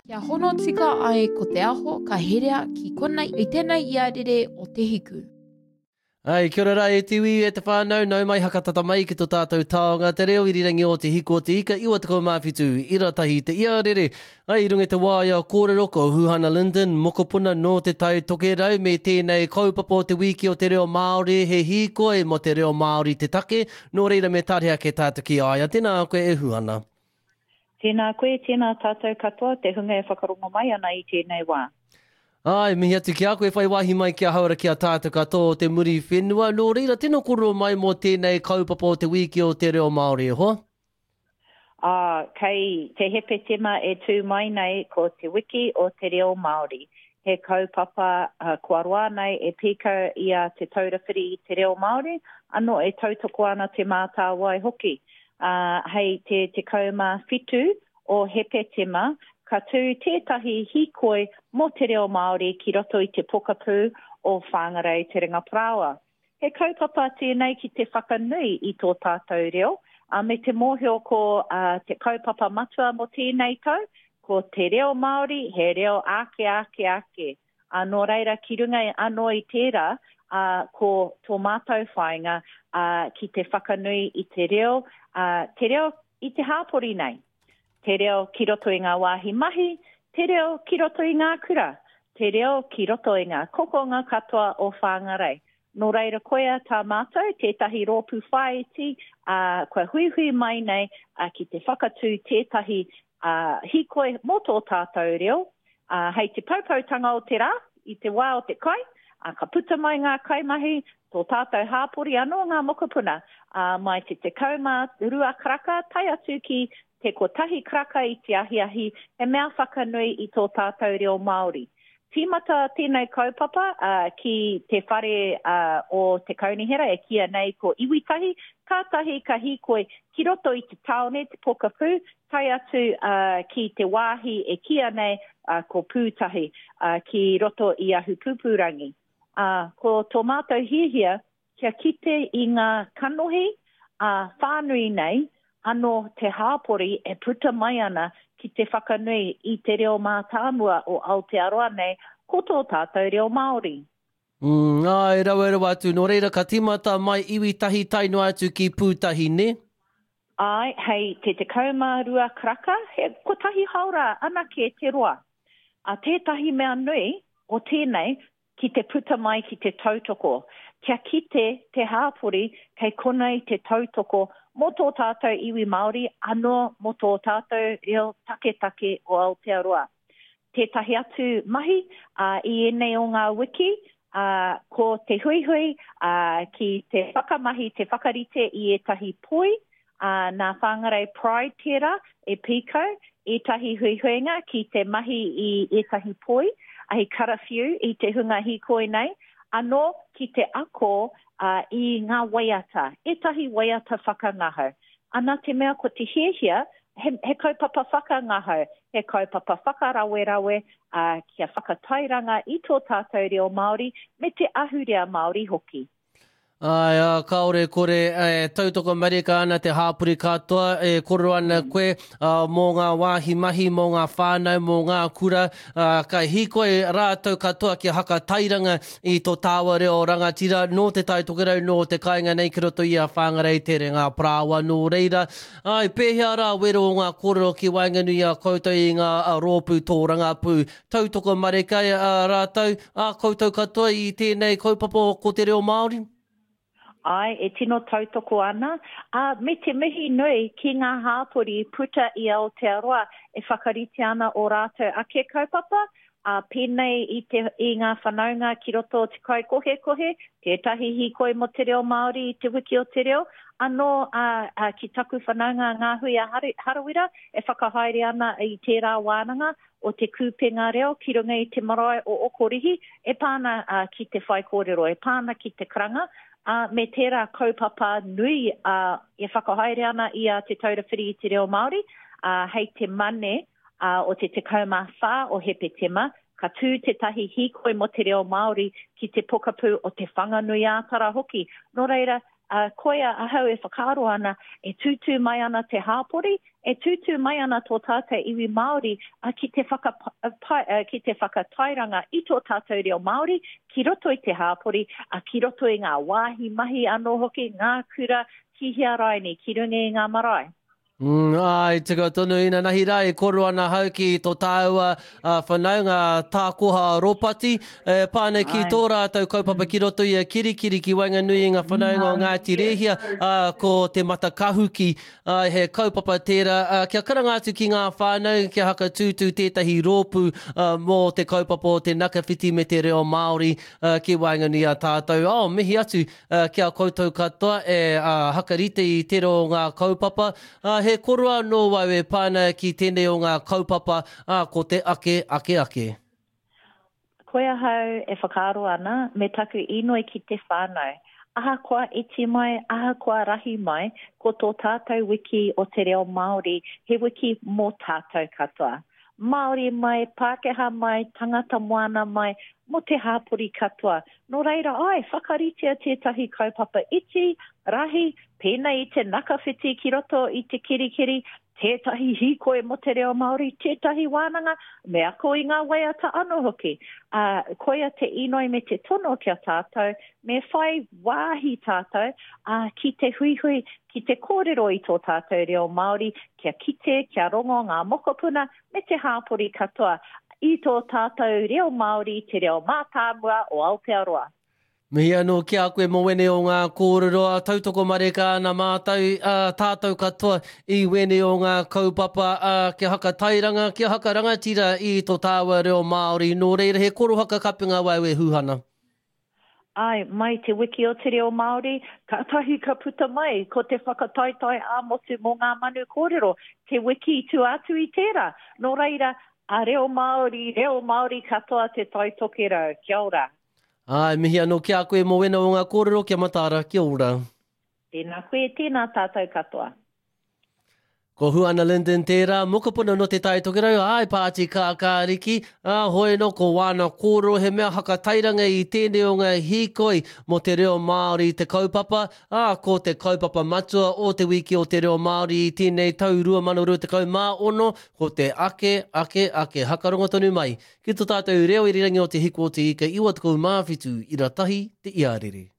Kia hono tika ai ko te aho ka herea ki konei i tenei iarere o Te Hiku. Ai, kia ora rā e te iwi, e te whānau, nau mai hakatata mai ki tō tātou taonga, te reo irirangi o Te Hiku o Te Ika, 97, ira tahi te iarere. Ai, i runga i te waea kōrero ko Huhana Lyndon, mokopuna nō Te Tai Tokerau me tēnei kaupapa o te wiki o te reo Māori, he hīkoi mō te reo Māori te take, nō reira me tare ake tātou ki a ia. Tēnā koe e Huhana. Tēnā koe, tēnā tātou katoa, te hunga e whakarongo mai ana i tēnei wā. Āe, mihi atu ki a koe, whai wāhi mai ki ahau ara ki a tātou katoa o te Muriwhenua. Nō reira, tino kōrero mai mō tēnei kaupapa o te wīki o te reo Māori, e hoa. Ā, kei te Hepetema e tū mai nei ko Te Wiki o te Reo Māori. He kaupapa kua roa nei e pīkau i a Te Taura Whiri i te Reo Māori, anō e tautoko ana Te Mātāwai hoki. ā, hei te 17 o Hepetema ka tū tētahi hīkoi mō te reo Māori ki roto i te pokapū o Whāngarei Te Ringaparāoa. He kaupapa tēnei ki te whakanui i tō tātou reo, ā, me te mōhio ko te kaupapa matua mō tēnei tau, ko te reo Māori he reo ake ake ake. Ā, nō reira, ki runga anō i tērā, ā, ko tō mātou whāinga, ā, ki te whakanui i te reo, ā, te reo i te hāpori nei, te reo ki roto i ngā wāhi mahi, te reo ki roto i ngā kura, te reo ki roto i ngā kokonga katoa o Whāngarei. Nō reira koia tā mātou, tētahi rōpū whāiti, ā, kua huihui mai nei, ā, ki te whakatū tētahi, ā, hīkoi mō tō tātou reo, ā, hei te poupoutanga o te rā, i te wā o te kai, ā, ka puta mai ngā kaimahi, tō tātou hāpori anō ngā mokopuna, ā, mai te 12 karaka tae atu ki te kotahi karaka i te ahiahi, he mea whakanui i tō tātou reo Māori. Tīmata tēnei kaupapa ki te whare o te kaunihera e kīia nei ko Iwitahi, kātahi ka hīkoi ki roto i te tāone, te pokapū, tae atu ki te wāhi e kīia nei ko Pūtahi, ki roto i Ahupūpūrangi. Ko tō mātou hiahia kia kite i ngā kanohi ā whānui nei anō te hāpori e puta mai ana ki te whakanui i te reo mātāmua o Aotearoa nei, ko tō tātou reo Māori. Mm, āe, rawe rawa atu. Nō reira, ka tīmata mai iwi tahi tae noa atu ki Pūtahi, nē? Āe, hei te 12 karaka, he kotahi haora anake te roa. Ā, tētahi mea nui o tēnei, ki te puta mai ki te tautoko, kia kite te hāpori kei konei te tautoko mō tō tātou iwi Māori anō mō tō tātou reo taketake o Aotearoa. Tētahi atu mahi i ēnei o ngā wiki, ko te huihui ki te whakamahi, te whakarite i ētahi poi, ā, nā Whangarei Pride tērā e pīkau ētahi huihuinga ki te mahi i ētahi poi, hei karawhiu i te hunga hīkoi nei, anō ki te ako i ngā waiata, ētahi waiata whakangahau. Ana te mea ko te hiahia, he, he kaupapa whakangahau, he kaupapa whakarawerawe, ā, kia whakatairanga i tō tātou reo Māori me te ahurea Māori hoki. Āe, ā, kāore e kore, e tautoko marika ana te hāpori katoa, e kōrero ana koe, ā, mō ngā wāhi mahi, mō ngā whānau, mō ngā kura, ā, ka hīkoi rātou katoa kia hakatairanga i tō tāua reo rangatira nō Te Tai Tokerau, nō te kāinga nei ki roto i a Whāngarei Te Renga Parāoa. Nō reira, āe, pēhea rā wero o ngā kōrero ki waenganui i a koutou i ngā rōpū tōrangapū? Tautoko marika a rātou, a koutou katoa i tēnei kaupapa ko te reo Māori? Āe, e tino tautoko ana, ā, me te mihi nui ki ngā hāpori puta i Aotearoa e whakarite ana ō rātou ake kaupapa, ā, pēnei i te, i ngā whanaunga ki roto o Te Kaikohekohe, tētahi hīkoi mō te reo Māori i te Wiki o te Reo, anō, ā, ā, ki taku whanaunga a Ngāhuia Harawira e whakahaere ana i tērā wānanga, o Te Kūpenga Reo ki runga i te marae o Okorihi e pā ana ki te whaikōrero, e pā ana ki te karanga, ā, me tērā kaupapa nui e whakahaere ana i a Te Taura Whiri i te Reo Māori, ā, hei te Mane o te 14 o Hepetema, ka tū tētahi hīkoi mō te reo Māori ki te pokapū o Te Whanganui-ā-Tara hoki. Nō reira, Ā, koia ahau e whakaaro ana, e tūtū mai ana te hāpori, e tūtū mai ana tō tātou iwi Māori ki te whakapai, ki te whakatairanga i tō tātou reo Māori ki roto i te hāpori, ki roto i ngā wāhi mahi anō hoki, ngā kura, ki hea raini, ki runga i ngā marae. Mm, āe, tika tonu, inanahi rā e koro ana hau ki tō tāua uh, whanaunga tākoha Ropati, e pā ana ki tō rātou kaupapa ki roto i a Kirikiri ki waenganui i ngā whanaunga o Ngāti Rēhia, uh, ko Te Matakahuki. Uh, he kaupapa tērā, uh, kia karanga atu ki ngā whānau, kia hakatūtū tētahi rōpū uh, mō te kaupapa o te nakawhiti me te reo Māori uh, ki waenganui a tātou. Oh, mihi atu Ki a koutou katoa e hakarite i tera o ngā kaupapa, he koro anō au e pā ana ki tēnei o ngā kaupapa, ā, ko te ake, ake, ake. Koe ahau e whakaaro ana, me taku inoi ki te whānau. Ahakoa iti mai, ahakoa rahi mai, ko tō tātou wiki o te reo Māori, he wiki mō tātou katoa. Māori mai, Pākehā mai, tangata moana mai, mō te hāpori katoa. Nō reira, āe, whakaritea tētahi kaupapa iti, rahi, pēnei i te nakawhiti ki roto i te kerikeri, tētahi hīkoi mō te reo Māori, tētahi wānanga, me ako i ngā waiata anō hoki. Ā, koia te inoi me te tono ki a tātou, me whai wāhi tātou, ā, ki te huihui, ki te kōrero i tō tātou reo Māori, kia kite, kia rongo ngā mokopuna me te hāpori katoa i tō tātou reo Māori, te reo mātāmua o Aotearoa. Mihi anō ki a koe mō wēnei o ngā kōrero, ā, tautoko mareka ana mātou, ā, tātou katoa i wēnei o ngā kaupapa, ā, kia hakatairanga, kia hakarangatira i tō tāua reo Māori. Nō reira, he korohaka kapenga wau e Huhana. Āe, mai te wiki o te reo Māori, kātahi ka puta mai ko te whakataetae ā-motu mō ngā manu kōrero, te wiki i tua atu i tērā. Nō reira, a reo Māori, reo Māori katoa Te Tai Tokerau. Kia ora. Āe, mihi anō ki a koe mō wena o ngā kōrero, kia mataara, kia ora. Tēnā koe, tēnā tātou katoa. Ko Huana Lyndon tērā, mokopuna nō Te Tai Tokerau, āe, Pāti Kākāriki, ā, hoi anō ko wāna kōrero he mea hakatairanga i tēnei o ngā hīkoi mō te reo Māori te kaupapa, ā, ko te kaupapa matua o Te Wiki o te Reo Māori i tēnei tau 2026, ko te ake, ake, ake, hakarongo tonu mai ki tō tātou reo irirangi o Te Hiku o Te Ika 97 ira tahi te iarere.